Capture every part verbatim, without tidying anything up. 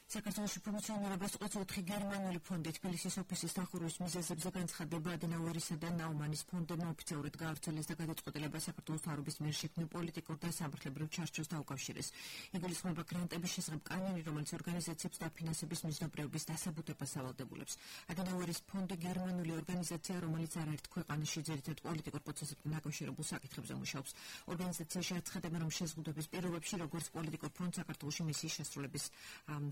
საქართველოში ფუნქციონირებას ოთხი გერმანული ფონდი თბილისის ოფისის დახურვის მიზეზებზე განცხადება ადენაუერისა და ნაუმანის ფონდებმა ოფიციალურად გაავრცელეს და გადაწყვეტილება საქართველოს მთავრობის მიერ შექმნილ პოლიტიკურ და სამართლებრივ ჩარჩოს დაუკავშირეს. იგულისხმება გრანტების შესახებ კანონი, რომელიც ორგანიზაციებს დაფინანსების მიზნობრეობის დასაბუთებას ავალდებულებს. ადენაუერის ფონდი გერმანული ორგანიზაცია, რომელიც არაერთ ქვეყანაში ძირითად პოლიტიკურ პროცესებთან დაკავშირებულ საკითხებზე მუშაობს. ორგანიზაციაში აცხადებენ, რომ შეზღუდვების პირობებში, როგორც პოლიტიკურ ფრონტს საქართველოში მისიის შესრულების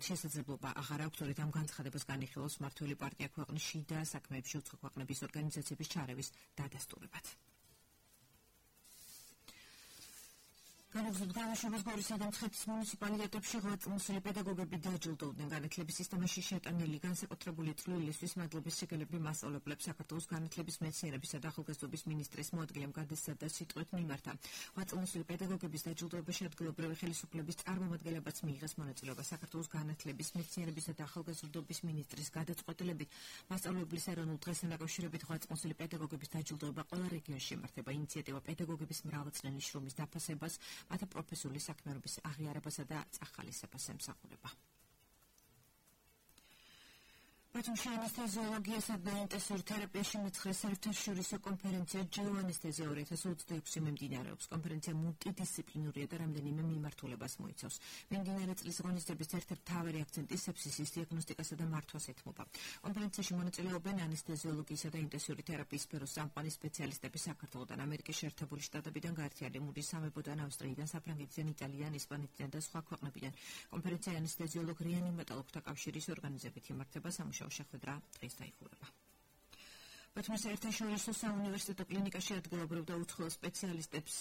შესაძლებლობა აღარ აქვს, თორედ ამ განცხადებას განიხილავს მმართველი პარტია ქვეყნის შიდა საქმეებში უცხო ქვეყნების ორგანიზაციების ჩარევის დადასტურებად. განაგრძობს გამოშვებას გორისა და მცხეთის მუნიციპალიტეტებში ღვაწლმოსილი პედაგოგები დაჯილდოვდნენ. განათლების სისტემაში შეტანილი განსაკუთრებული წვლილისთვის მადლობის სიგელები მასწავლებლებს საქართველოს განათლების მეცნიერებისა და ახალგაზრდობის მინისტრის მოადგილემ გადასცადა სიტყვით მიმართა. ღვაწლმოსილი პედაგოგების დაჯილდოებაში ადგილობრივი ხელისუფლების წარმომადგენლებაც მიიღეს მონაწილეობა. საქართველოს განათლების მეცნიერებისა და ახალგაზრდობის მინისტრის გადაწყვეტილებით მასწავლებლის ეროვნულ დღესთან დაკავშირებით ღვაწლმოსილი პედაგოგების დაჯილდოება ყველა რეგიონში იმართება. ინიციატივა პედაგოგების მრავალწლიანი შრომის დაფასებას, მათ პროფესიული საქმიანობის აღიარებასა და წახალისებას ემსახურება. ბათუმში ანესთეზიოლოგიასა და ინტენსიური თერაპიაში მეცხრე საერთაშორისო კონფერენცია ჯეო ანესთეზია ორი ათას ოცდაექვსი მიმდინარეობს. კონფერენცია მულტიდისციპლინურია და რამდენიმე მიმართულებას მოიცავს. მიმდინარე წლის ღონისძიების ერთ-ერთი მთავარი აქცენტი სეფსისის დიაგნოსტიკასა და მართვას ეთმობა. კონფერენციაში მონაწილეობენ ანესთეზიოლოგიისა და ინტენსიური თერაპიის სფეროს წამყვანი სპეციალისტები საქართველოდან, ამერიკის შეერთებული შტატებიდან, გაერთიანებული სამეფოდან, ავსტრიიდან, საფრანგეთიდან, იტალიიდან, ესპანეთიდან და სხვა ქვეყნებიდან. კონფერენცია ანესთეზიოლოგ რეანიმატოლოგთა კავშირის ორგანიზებით იმართება. სამუშაო შეხვედრა დღეს დაიხურება. ბათუმის საერთაშორისო საუნივერსიტეტო კლინიკაში ადგილობრივ და უცხოელ სპეციალისტებს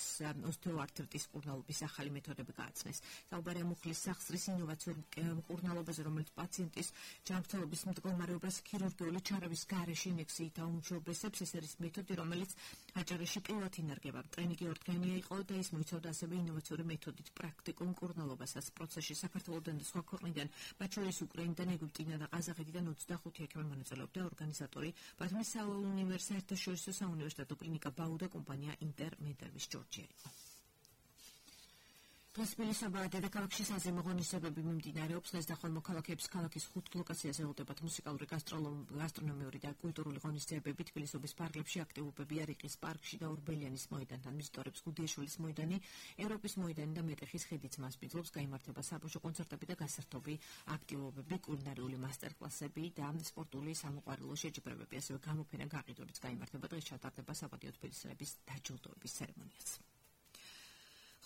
ოსტეოართრიტის მკურნალობის ახალი მეთოდები გააცნეს. საუბარია მუხლის სახსრის ინოვაციურ მკურნალობაზე, რომელიც პაციენტის ჯანმრთელობის მდგომარეობას ქირურგიული ჩარევის გარეშე ინიექციით აუმჯობესებს. ეს არის მეთოდი, რომელიც აჭარაში პირველად ინარგება. ტრენინგი ორდღიანი იყო და ის მოიცავდა ასევე ინოვაციური მეთოდით პრაქტიკულ მკურნალობასაც. პროცესში საქართველოდან და სხვა ქვეყნიდან, მათ შორის უკრაინიდან, ეგვიპტიდან და ყაზახეთიდან ოცდახუთი ექიმი მონაწილეობდა. ორგანიზატორი ბათუმის საერთაშორისო საუნივერსიტეტო კლინიკა ბაუ და კომპანია ინტერმედერვის ჯორჯია იყო. დღეს თბილისსა დედაქალაქში საზეიმო ღონისძიებები მიმდინარეობს. დღეს და ხოლმე მოქალაქეებს ქალაქის ხუთ ლოკაციაზე ელოდებათ მუსიკალური, გასტრონომიური და კულტურული ღონისძიებები. თბილისობის პარკებში აქტივობებია რიყის პარკში და ორბელიანის მოედანთან. მისტორებს გუდიაშვილის მოედანი, ევროპის მოედანი და მეტეხის ხიდიც მასპინძლობს. გაიმართება საბავშვო კონცერტები და გასართობი აქტივობები, კულინარიული მასტერკლასები და სპორტული სამოყვარულო შეჯიბრებები. ასევე გამოფენა გაყიდვებიც გაიმართება. დღეს ჩატარდება საპატიო თბილისელების დაჯილდოების ცერემონიაც.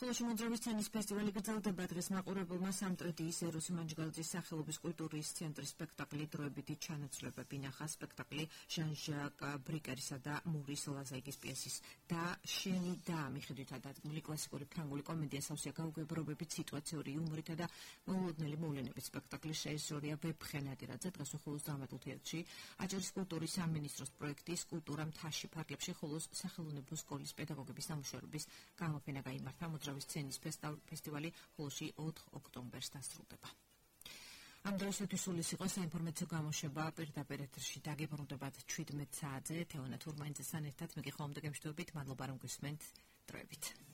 ხოლოში მოძრავის სცენის ფესტივალი გრძელდება. დღეს მაყურებელმა სამტრედიის ეროსი მანჯგალაძის სახელობის კულტურის ცენტრის სპექტაკლი დროებითი ჩანაცვლებები ნახა. სპექტაკლი ჟან-ჟაკ ბრიკერისა და მურის ლაზაიგის პიესის და შენი და მიხედვით დადგმული კლასიკური ფრანგული კომედია სავსეა გაუგებრობებით, სიტუაციური იუმორითა და მოულოდნელი მოვლენებით. სპექტაკლის რეჟისორია ვეფხე ნადირაძე. დღეს უხულოს დრამატულ თეატრში აჭარის კულტურის სამინისტროს პროექტის კულტურა მთაში ფარგლებში ხოლოს სახელოვნებო სკოლის პედაგოგების ნამუშევრების გამოფენა გაიმართა. მოძრავის სცენის ფესტივალი ხოლოში ოთხ ოქტომბერს დასრულდება. ამ დროისათვის სულ ის იყო საინფორმაციო გამოშვება. პირდაპირ ეთერში დაგებრუნდებათ შვიდმეტ საათზე. თეონა თურმანიძესთან ერთად მე კი ხოლმე გემშვიდობით. მადლობა რომ გისმენთ. დროებით.